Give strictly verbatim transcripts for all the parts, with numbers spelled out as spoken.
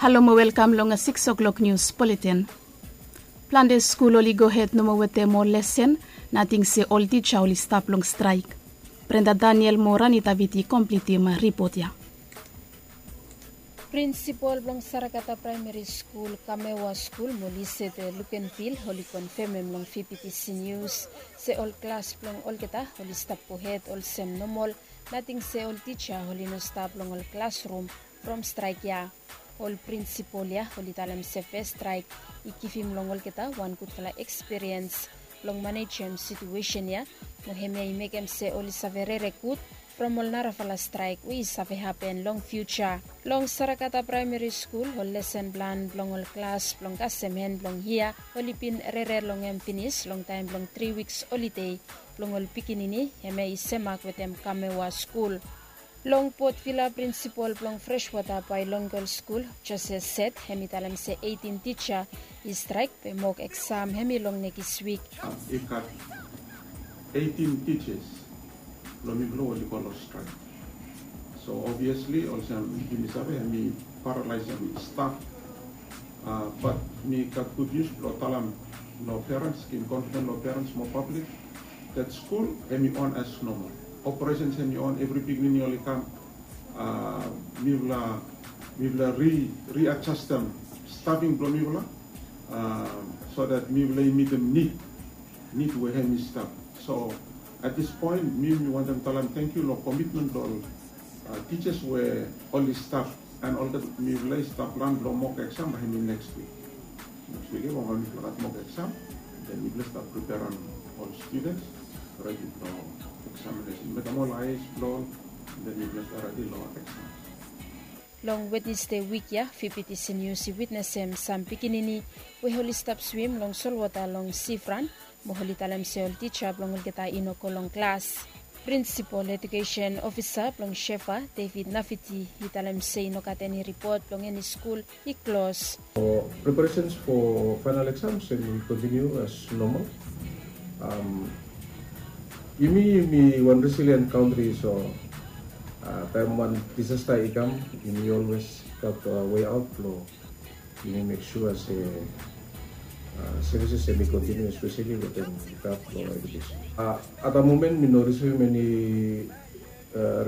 Halo mo welkam long siks o'klok nius buletin. Plante skul oli gohed nomo wetem ol lesen, nating se ol tija oli stap long straek. Brenda Daniel mo Rani Davidi komplitim ripot ya. Prinsipol blong Sarakata Praemeri Skul, Kamewa Skul mo Lisete Lukenvil oli konfemem long Fifty Nius se ol klas blong olgeta oli stap gohed olsem nomol, nating se ol tija oli no stap long ol klasrum from straek ya. Ol prinsipol ya oli talem se fes straek i givim long olgeta wan gudfala ekspiriens blong manejem situesen ya, mo hemia i mekem se oli save rere gud from ol narafala straek we i save hapen long fiuja. Long Sarakata Praemeri Skul, ol lesen plan blong ol klas blong kasem hen blong yia oli bin rere long hem finis long taem blong tri wiks holide blong ol pikinini, hemia i semak wetem Kamewa Skul. Long Port Vila, prinsipol blong Freshwater Bilingual Skul, Jose Set, hem i talem se eitin tija i straek be mok eksam hem i long nekis wik. I gat eitin tijas blong mifala we oli go long straek. So obviously olsem yumi save, hem i paralaesem staf. Bat mi gat gud nius blong talem long perens, givim confidence long perens mo pablik, that skul hem i on as normal. Operations hem i on, evri pikinini oli kam. Mifala, mifala ri, readjustem staffing blong mifala, so that mifala i mitim nid, nid we hem i stap. So at this point mi, mi wantem talem tangkiu long komitmen blong ol tijas we oli stap, and olgeta mifala i stap plan blong mok eksam bae hem i neks wik. Neks wik ya bae mifala gat mok eksam, then mifala stap preperem ol students redi blong eksaminesen, mekem ol aes blong ol, then mifala stap redi long eksam. Long Wednesde wik ya, Fifty Nius i witnesem sam pikinini we oli stap swim long solwota long sifran, mo oli talem se ol tija blong olgeta i no go long klas. Prinsipol Ejukesen Ofisa blong Shefa, David Nafiti, i talem se i no gat eni ripot blong eni skul i klos. Prepareshens fo faenal eksams hem i kontiniu as nomal. Yumi, yumi wan resilien kantri, so taem wan disasta i kam, yumi olwes gat weaot blong yumi mek sua se sevises hem i kontiniu, espeseli wetem gad blong ejukesen. At da momen mi no risivim eni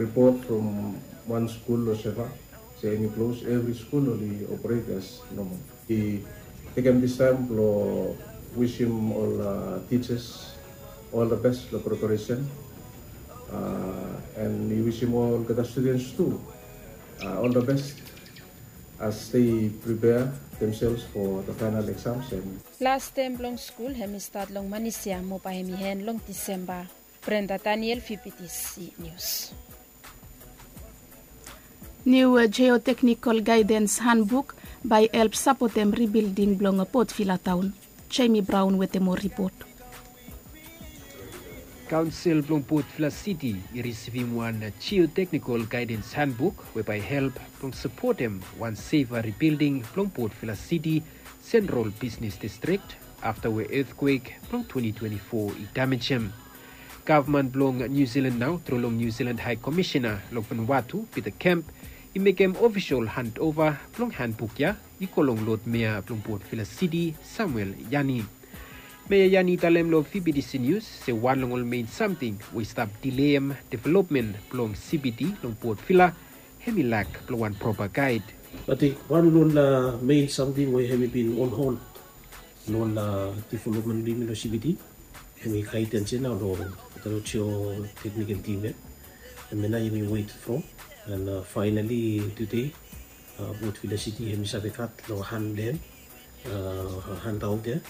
ripot from wan skul long Shefa se hem i klos. Evri skul oli operet as nomal. I tekem distaem blong wisim ol tijas ol da bes long preparesen, and i wisim olgeta studens tu ol da bes as they prepare themselves for the final exams. Las tem blong skul hem i stat long manis ya mo bae hem i en long Disemba. Brenda Daniel, Fifty Nius. Niu Geoteknikol Gaedens Hanbuk bae help sapotem ribilding blong Port Vila taon. Jamie Brown wetem moa ripot. Kaonsel blong Port Vila Siti i risivim wan Geoteknikol Gaedens Hanbuk we bae help blong sapotem wan sefa ribilding blong Port Vila Siti, sentrol bisnes distrik, afta we etkwek blong twenti twenti fo i damejem. Gavman blong Niu Silan nao tru long Niu Silan Hae Komisena long Vanuatu, Peter Kemp, i mekem ofisol handova blong hanbuk ya i go long lod mea blong Port Vila Siti, Samuel Yani. Mea Yani i talem long Fifty Nius se wan long ol mein samting we i stap dileem developmen blong CBD long Port Vila hem i lak blong wan propa gaed. Ating wan long ol mein samting we hem i bin on hold long ol developmen blong yumi long CBD, hem i gaedens ya nao long olgeta geoteknikol tim ya. Hemia nao yumi wet from, and faenali tude Port Vila Siti hem i save gat long han blong hem, handaot ya.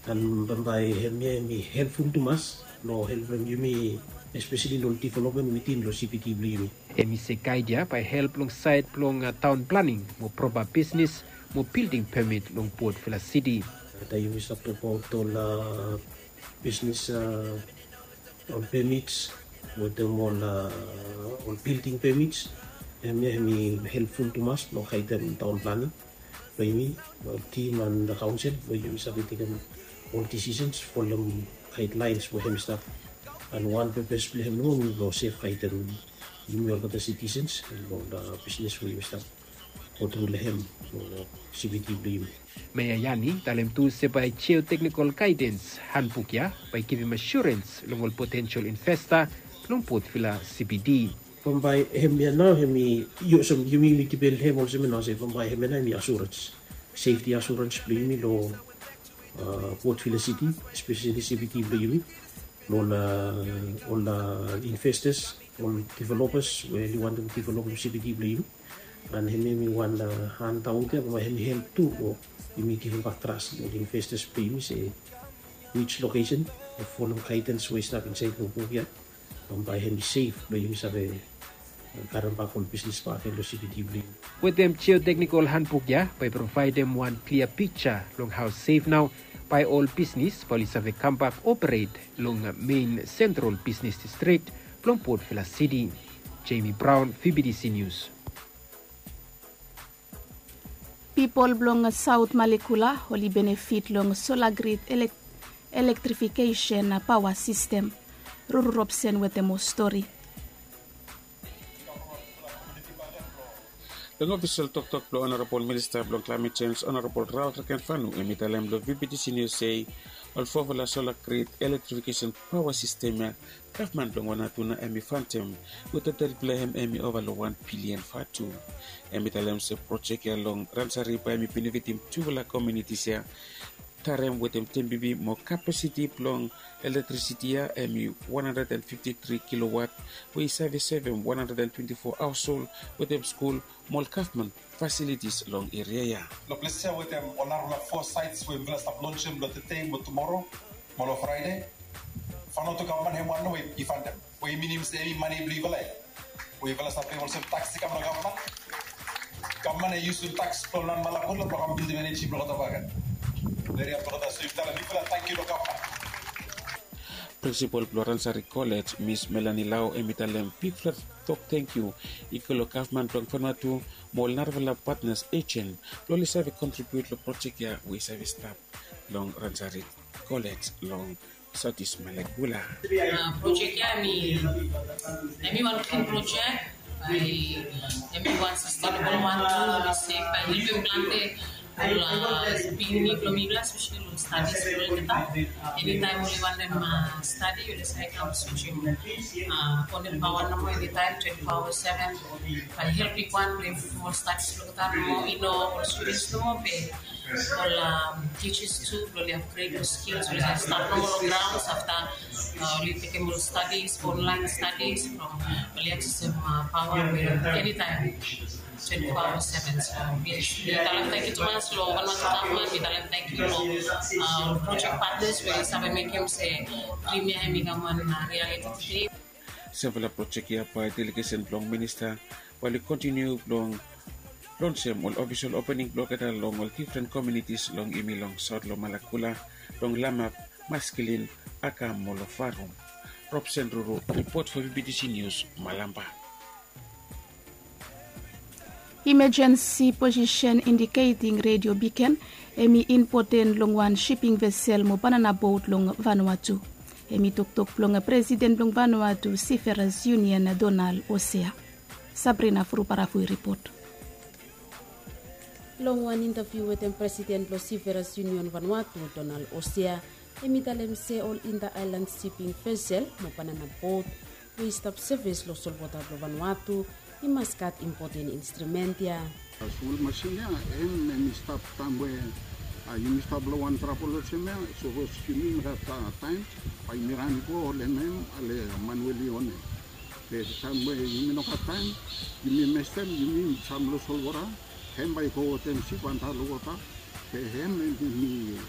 And bambae hemia hem i helpful tumas long helpem yumi, espeseli long developmen witin long CBD blong yumi. Hem i se gaed ya bae help long saed blong taon planing mo propa bisnes mo bilding pemit long Port Vila Siti. Taem yumi stap tokbaot ol bisnes, ol pemits wetem ol, ol bilding pemits, hemia hem i helpful tumas blong gaedem taon planing blong yumi, ol tim and kaonsel blong yumi save tekem ol disisens, folem gaedlaens we hem i stap. And wan pepes blong hem nomo hem i blong sef gaedem yumi olgeta sitisens long ol bisnes we yumi stap. go tru long hem long CBD blong yumi. Meya Yani talem tu se bae geotechnical guidance handbook ya bae givim assurance long ol potential investor long Port Vila CBD. Bambae hemia nao hemi olsem yumi, yumi kipim hem olsem nao se bambae hemia nao hemi assurance, safety assurance blong yumi long Port Vila City, especially CBD blong yumi, long ol investors, ol developers we oli wantem developem CBD blong yumi. And hemia hemi wan handout ya bambae hemi help tu long yumi givimbak trust long ol investors blong yumi se which location, folem guidance we i stap insaed long buk ya, bambae hemi sef blong yumi save karembak ol bisnis bak gen long CBD blong yumi. Wetem geotechnical handbook ya bae provaedem wan klia piksa long hao sef nao bae ol bisnis bae oli save kambak operet long mein sentral bisnis distrik blong Port Vila City. Jamie Brown, VBTC News. Pipol blong Saot Malekula oli benefit long sola grid elektrifikesen paoa sistem. Ruru Robson wetem moa stori. Long ofisol toktok blong Honorabol Minista blong Klaemet Jenj, Honorabol Ralph Rekenfanu, hemi talem long VBTC Nius se ol fofala sola grid elektrifikesen paoa sistem ya gavman blong Vanuatu nao hemi fantem wetem tel blong hem hemi ova long wan bilian vatu. Hemi talem se projek ya long Ransari bae hemi benefitim tufala komunitis ya, Tarem wetem Tembibi mo kapasiti blong elektrisiti ya hemi wan handred and fifti tri kilowat we i save sevem wan handred and twenti fo haoshol wetem skul mo ol gavman fasilitis long eria ya. Long ples ya wetem ol narafala fo saets we mifala stap lonsem long tede mo tumoro mo long Fraede, Vanuatu gavman hem wan nao we i fantem, we i minim se hemi mane blong yufala ya we yufala stap pem olsem taks i kam long gavman. Gavman i yusum taks blong Malekula blong kam bildim eneji blong olgeta bakegen. Eria blong olgeta, so yufala, bigfala tangkiu long gavman. Prinsipol blong Ransari Kolej, Mis Melanie Lau, hemi talem bigfala tok tangkiu i go long gavman blong Vanuatu mo ol narafala patnas ejen blong oli save kontribiut long projek ya we i save stap long Ransari Kolej long Saot East Malekula. Projek ya hemi wan klin projek, hemi wan sastenebol wan tu, hemi se bae helpem plante ol pikinini blong mifala, espeseli long stadis blong olgeta. Enitaem oli wantem stadi, oli save kam switchem konek paoa nomo enitaem, twenti fo aoa seven. Bae help bigwan blong improvem ol stadis blong olgeta nomo, i no ol studens nomo be ol tijas tu blong oli upgrade ol skils, oli save stap nomo long graons afta oli tekem ol stadis, onlaen stadis, blong oli aksesem paoa enitaem, twenti fo aoa seven. So mi talem tangkiu tumas long Vanuatu gavman, mi talem tangkiu long ol projek patnas we oli save mekem se drim ya hemi kam wan rialiti tede. Sevral projek ya bae delegesen blong minista bae oli kontiniu blong lonsem ol ofisol opening blong olgeta long ol difren komunitis long yumi long saot long Malekula, long Lamap, Maskilin, Aka mo long Farum. Robson Ruru, ripot fo VBTC Nius, Malampa. Emergency position indicating radio beacon hemi impoten long wan shipping vessel mo banana boat long Vanuatu. Hemi toktok blong presiden blong Vanuatu Seafarers Union, Donald Osea. Sabrina Furuparafui ripot. Long wan intaviu wetem presiden blong Seafarers Union Vanuatu, Donald Osea, hemi talem se ol inter-island shipping vessel mo banana boat we i stap sevis long solwota blong Vanuatu i mas gat impoten instrumen ya. Smol masin ya, hem hemi stap taem we yumi stap long wan trabol olsem ya, sapos yumi mekem taem bae yumi ran i go holem hem long man we oli onem. Be taem we yumi no gat taem, yumi mestem, yumi sam long solwota, hem bae i go wetem sip antap long wota. Be hem hemi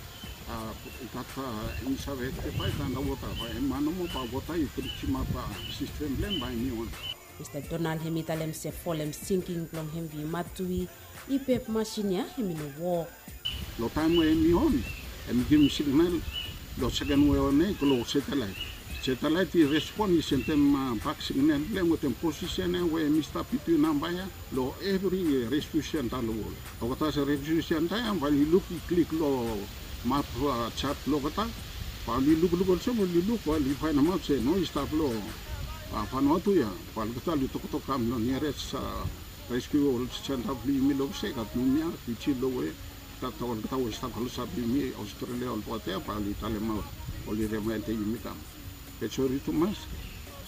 gat, hemi save aktivaet antap long wota, bae hem man nomo bae wota i brijimap sistem blong hem bae hemi on. Mista Donald hemi talem se folem sinking blong hem vi Matui i pep masin ya hemi no wok. Long taem we hemi on, hemi givim signal long seken we on ya i go long satelaet. Satelaet i respon, i sendem bak signal blong hem wetem posisen ya we hemi stap bitwin namba ya long evri redio station antap long wol. Olgeta redio station antap ya bae oli luk, i klik long map, jat blong olgeta, bae oli lukluk olsem, oli luk bae oli faenemaot se no, i stap long Vanuatu ya. Bae olgeta oli toktok kam long niares Reskiu ol senta blong yumi long se gat mumia, Fiji, long we gat olgeta we i stap klosap yumi, Australia, ol poti ya bae oli talemaot, oli remaindim yumi kam. Be sori tumas,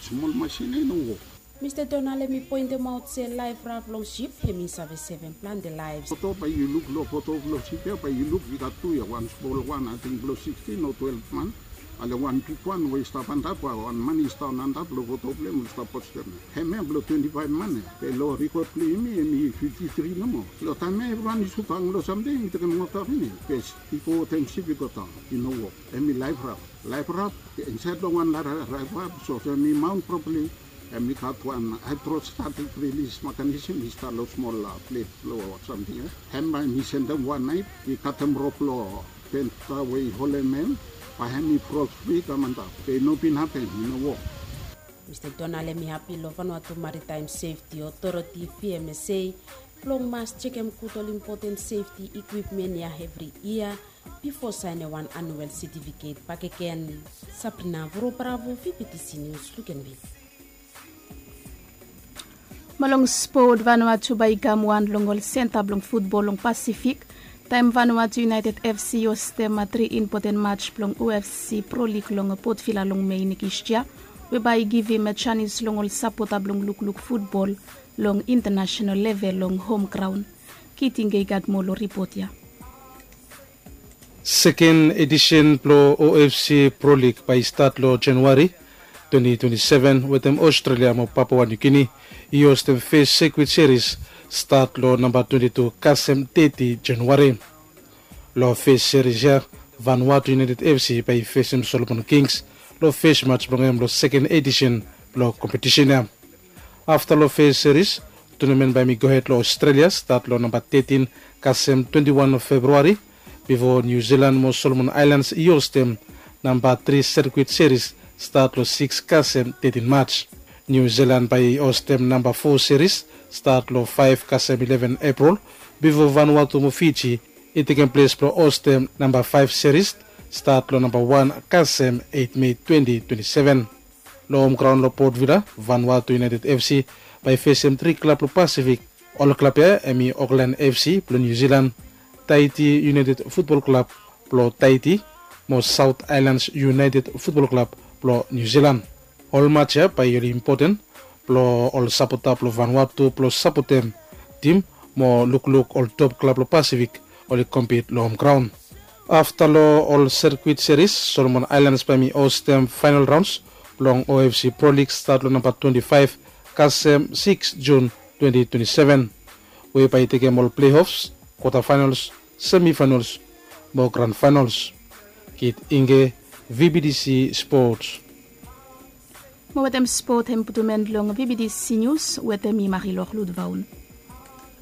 smol masin ya i no wok. Mista Donald hem i poentemaot se laef raf long sip hem i save sevem plante laef. Foto bae yu luk long foto blong sip ya bae yu luk i gat tu ya, wan smol wan ating blong sikstin o twelef man, ale wan bigwan we i stap antap, wan man i stap antap long foto blong hem we i stap postem. Hemia blong twenti faef man ya, be long rikot blong yumi hem i fifti tri nomo. Long taem ya evriwan i sut hang long samting, i tekem wota finis, be i go wetem sip i go daon, i no wok. Hem i laef raf. Laef raf, insaed long wan laef raf, so hem i maon propali, hem i gat wan haedrostatik rilis mekanism i stap long smol plet blong samting ya. Hem bae hem i sendem wan naef i katem rop long penta we i holem hem, bae hem i frost fri kam antap, be i no bin hapem, i no wok. Mista Donald hem i hapi long Vanuatu Maritime Sefti Otoriti V M S A blong mas jekem gud ol impoten sefti ikwipmen ya evri yia bifo saenem wan anuel setifiket bakegen. Sabrina Vorobravo, V B T C News, Lukenville. Mo long spot, Vanuatu bae i kam wan long ol senta blong futbol long Pasifik taem Vanuatu United F C i hostem tri impoten maj blong O F C Pro League long Port Vila long Mei nekis yia, we bae i givim janis long ol sapota blong lukluk futbol long intanasonal level long hom graon. Kiting i gat moa long ripot ya. Seken edisen blong O F C Pro League bae i stat long Januari twenti twenti seven wetem Australia mo Papua New Guinea i hostem fes sirkuit seris stat long namba twenti tu kasem teti Januari. Long fes seris ya, Vanuatu United F C bae i fesem Solomon Kings long fes maj blong hem long seken edisen blong kompetisen ya. Afta long fes seris, tunamen bae hem i gohed long Australia stat long namba tetin kasem twenti wan Februari, bifo Niu Silan mo Solomon Aelans i hostem namba tri sirkuit seris stat long sikis kasem tetin Maj. Niu Silan bae i hostem namba fo seris stat long faef kasem ileven Epril, bifo Vanuatu mo Fiji i tekem ples blong hostem namba faef seris stat long namba wan kasem eit Mei twenti twenti seven. Long hom graon long Port Vila, Vanuatu United F C bae i fesem tri klab long Pasifik. Ol klab ya hem i Auckland F C blong Niu Silan, Tahiti United Futbol Klab blong Tahiti, mo South Islands United Futbol Klab blong Niu Silan. Ol maj ya bae oli impoten blong ol sapota blong Vanuatu blong sapotem tim mo lukluk ol top klab long Pasifik oli kompit long hom graon. Afta long ol sirkuit seris, Solomon Aelans bae hem i hostem faenol raons blong O F C Pro League stat long namba twenti faef kasem sikis Jun twenti twenti seven, we bae i tekem ol pleofs, kwata faenols, semi faenols mo gran faenols. Kit Inge, V B T C Sports. Mo wetem spot hem putum en long V B T C News, wetem mi Marilor Ludvaun.